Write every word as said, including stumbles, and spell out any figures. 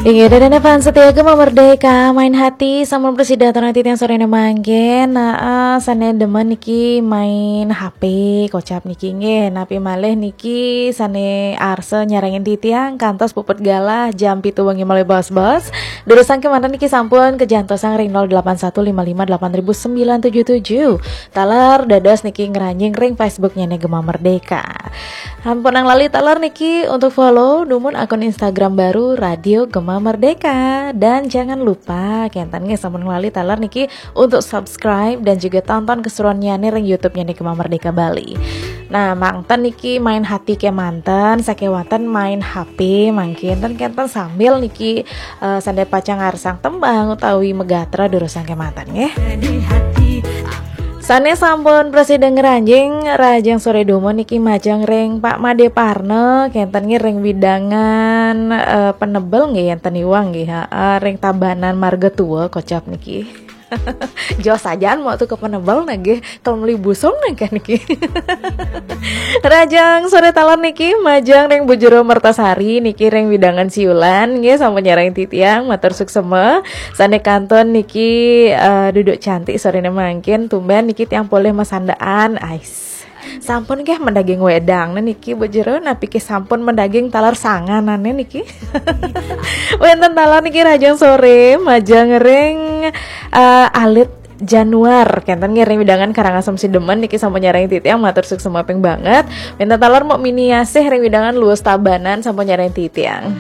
Inggih, ida dané fans setia Gema Merdeka, main hati sampun prasida aturang titiang soréné mangkin. Nah, sané demen niki main H P, kocap niki nggih. Napi malih niki sané arsa nyarengin titiang kantos puput galah jam pitu wengi malih bos-bos. Durusang kémanten niki sampun kajantosang ring nol delapan satu lima lima delapan ribu sembilan tujuh tujuh. Taler dados niki ngranjing ring Facebooknya nih Gema Merdeka. Sampunang lali taler niki untuk follow dumun akun Instagram baru Radio Gema Merdeka. Dan jangan lupa, kénten nggih sampunang lali taler niki untuk subscribe dan juga tonton keseruannya nih ring YouTube-nya nih Gema Merdeka Bali. Nah, mangten niki main hati kémanten, sakéwanten main H P, mangkin ten kénten sambil niki eh, sané pacang ngarsang tembang utawi megatra durusang kémanten nggih. Sané sampun prasida ngranjing, rahajeng soré dumun niki majeng ring Pak Madé Parna, kénten nggih ring wewidangan eh, Penebel nggih, énten Iwang nggih, ha, ring Tabanan Marga Tua kocap niki. Jos sajaan mau tuh ke Penebel nggih, kalau meli busung nggih niki. Rahajeng soré taler niki majeng ring Bu Jero Mertasari niki ring wewidangan Siulan nggih, sampun nyarengin titiang, matur suksma. Sané kantun niki eh, duduk cantik soréné mangkin, tumben niki tiang polih masandaan. Ais. Sampun nggih mendaging wedang niki Bu Jero, napi ké sampun mendaging taler sanganané niki. Wénten taler niki rahajeng soré majeng ring eh, Alit Januar, kénten nggih ring wewidangan Karangasem Sidemen niki sampun nyarengin titiang, matur suksma ping banget. Wénten taler Mok Mini Asih ring wewidangan Luwus Tabanan sampun nyarengin titiang.